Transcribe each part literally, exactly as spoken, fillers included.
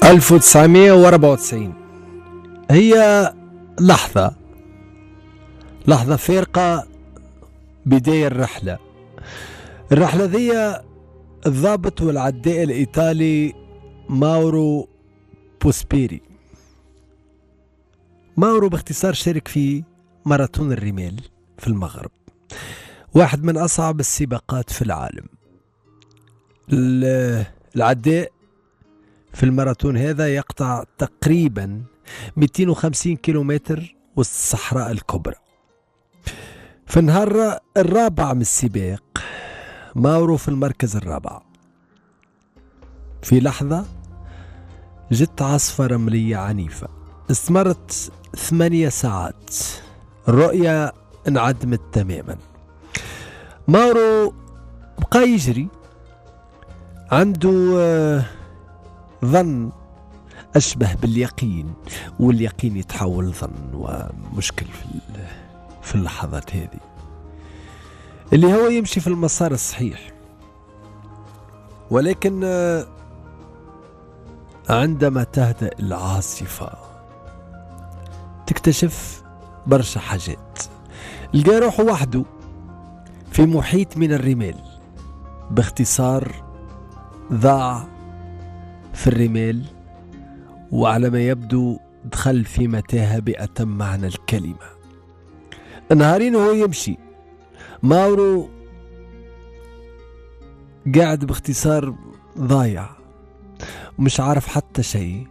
ألف وتسعمائة وأربعة وتسعين هي لحظة لحظة فارقة، بداية الرحلة. الرحلة ذي الضابط والعداء الإيطالي ماورو بوسبيري. ماورو باختصار شارك في ماراثون الرمال في المغرب، واحد من أصعب السباقات في العالم. العداء في الماراثون هذا يقطع تقريبا مئتين وخمسين كيلومتر وسط الصحراء الكبرى. في النهار الرابع من السباق ماورو في المركز الرابع. في لحظة جت عاصفة رملية عنيفة استمرت ثمانية ساعات، الرؤية انعدمت تماما. ماورو بقى يجري، عنده ظن أشبه باليقين، واليقين يتحول ظن، ومشكل في في اللحظات هذه اللي هو يمشي في المسار الصحيح. ولكن عندما تهدأ العاصفة تكتشف برشا حاجات. لقى روحه وحده في محيط من الرمال، باختصار ضاع في الرمال، وعلى ما يبدو دخل في متاهة بأتم معنى الكلمة. نهارين وهو يمشي، ماورو قاعد باختصار ضايع ومش عارف حتى شيء.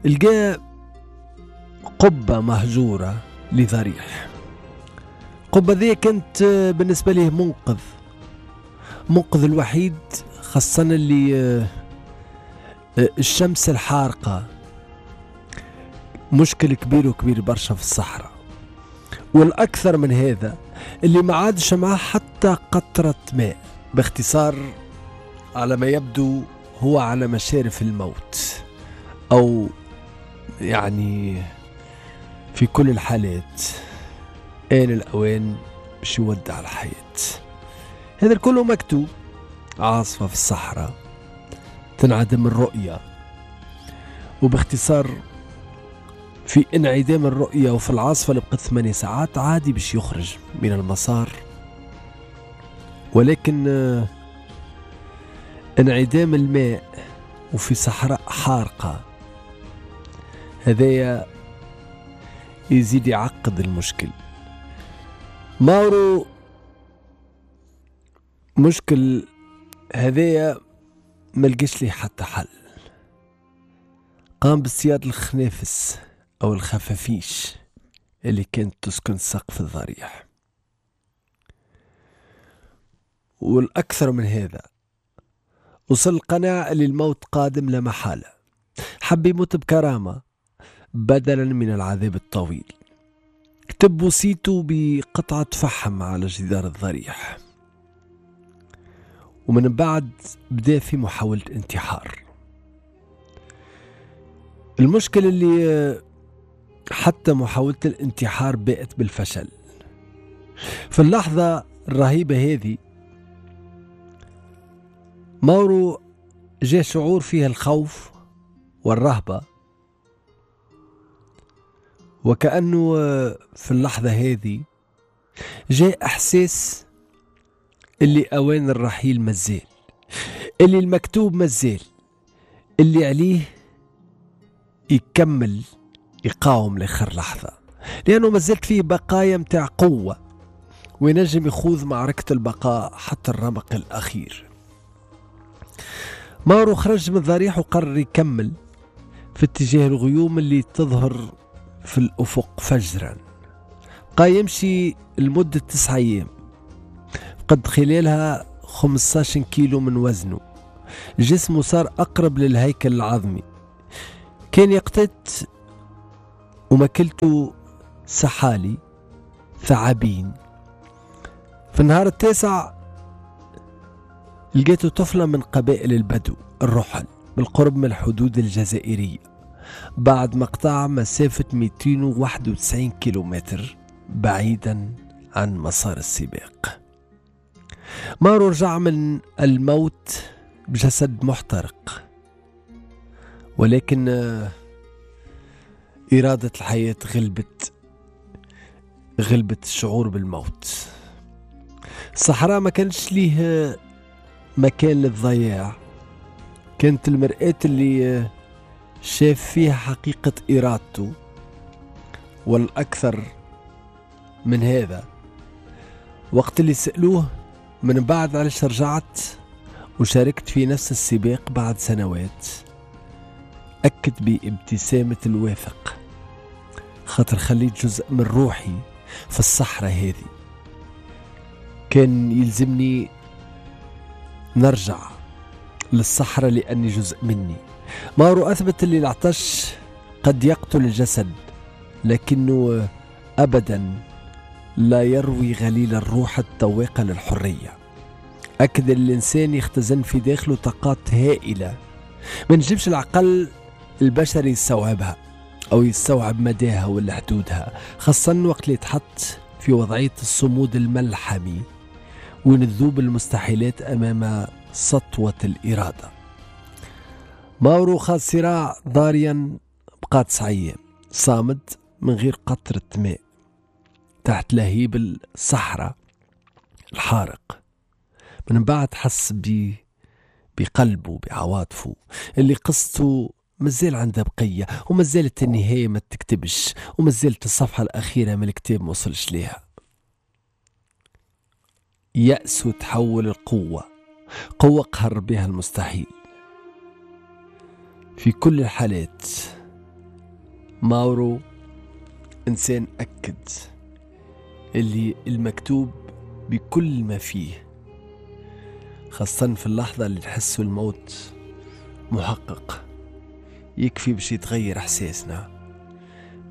لقى قبة مهجورة لضريح. القبة ذي كانت بالنسبة له منقذ، منقذ الوحيد، خاصة اللي الشمس الحارقة مشكل كبير وكبير برشا في الصحراء. والأكثر من هذا اللي ما عادش معاه حتى قطرة ماء. باختصار على ما يبدو هو على مشارف الموت، أو يعني في كل الحالات آن الأوان باش يودع الحياة. هذا كله مكتوب. عاصفة في الصحراء، تنعدم الرؤية، وباختصار في انعدام الرؤية وفي العاصفة اللي بقت ثمانية ساعات عادي باش يخرج من المسار. ولكن انعدام الماء وفي صحراء حارقة هذايا يزيد يعقد المشكل. ماورو مشكل هذايا ما لقاش ليه حتى حل. قام باصطياد الخنافس أو الخفافيش اللي كانت تسكن سقف الضريح. والأكثر من هذا وصل القناعة اللي الموت قادم لا محالة. حب يموت بكرامة بدلا من العذاب الطويل. كتب وصيته بقطعة فحم على جدار الضريح، ومن بعد بدأ في محاولة انتحار. المشكلة اللي حتى محاولة الانتحار بقت بالفشل. في اللحظة الرهيبة هذه ماورو جاء شعور فيها الخوف والرهبة، وكأنه في اللحظة هذه جاء إحساس اللي أوان الرحيل مازال، اللي المكتوب مازال، اللي عليه يكمل يقاوم لآخر لحظة، لأنه مازالت فيه بقايا متاع قوة وينجم يخوض معركة البقاء حتى الرمق الأخير. ماورو خرج من الضريح وقرر يكمل في اتجاه الغيوم اللي تظهر في الأفق فجرا. بقى يمشي لمدة تسعة أيام، قد خلالها خمسة عشر كيلو من وزنه. جسمه صار أقرب للهيكل العظمي. كان يقتت وماكلته سحالي ثعابين. في النهار التاسع لقيته طفلة من قبائل البدو الرحل بالقرب من الحدود الجزائرية، بعد ما قطع مسافة مئتين وواحد وتسعين كيلومتر بعيدا عن مسار السباق. ماورو رجع من الموت بجسد محترق، ولكن إرادة الحياة غلبت غلبت الشعور بالموت. الصحراء ما كانش ليه مكان للضياع، كانت المرآة اللي شاف فيها حقيقة إرادته. والأكثر من هذا، وقت اللي سألوه من بعد علاش رجعت وشاركت في نفس السباق بعد سنوات، أكد بابتسامة الواثق: خاطر خليت جزء من روحي في الصحراء هذه، كان يلزمني نرجع للصحراء لأني جزء مني. ماورو أثبت اللي العطش قد يقتل الجسد، لكنه أبدا لا يروي غليل الروح التواقة للحرية. أكد الإنسان يختزن في داخله طاقات هائلة ما نجمش العقل البشري يستوعبها أو يستوعب مداها ولا حدودها، خاصة وقت اللي يتحط في وضعية الصمود الملحمي ونذوب المستحيلات أمام سطوة الإرادة. ماورو خاض صراع ضاريا بقى تسع أيام صامد من غير قطرة ماء تحت لهيب الصحراء الحارق. من بعد حس ب بقلبه بعواطفه اللي قصته مازال عندها بقية، ومازالت النهاية ما تكتبش، ومازالت الصفحة الأخيرة من الكتاب ما وصلش ليها. يأس تحول القوة، قوة قهر بها المستحيل. في كل الحالات ماورو إنسان أكد اللي المكتوب بكل ما فيه، خاصة في اللحظة اللي نحسه الموت محقق، يكفي باش يتغير إحساسنا،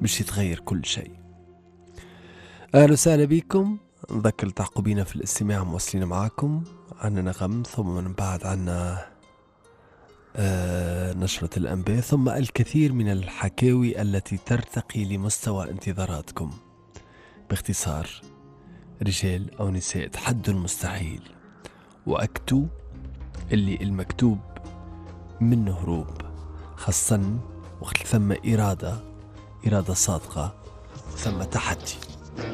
باش يتغير كل شيء. أهلا وسهلا بكم، نذكر التحقوا بينا في الاستماع، مواصلين معاكم عنا نغم، ثم من بعد عنا آه نشرة الأنباء، ثم الكثير من الحكاوي التي ترتقي لمستوى انتظاراتكم. باختصار، رجال أو نساء تحدوا المستحيل وأكتوا اللي المكتوب منه هروب، خاصة وقت ثم إرادة، إرادة صادقة، ثم تحدي.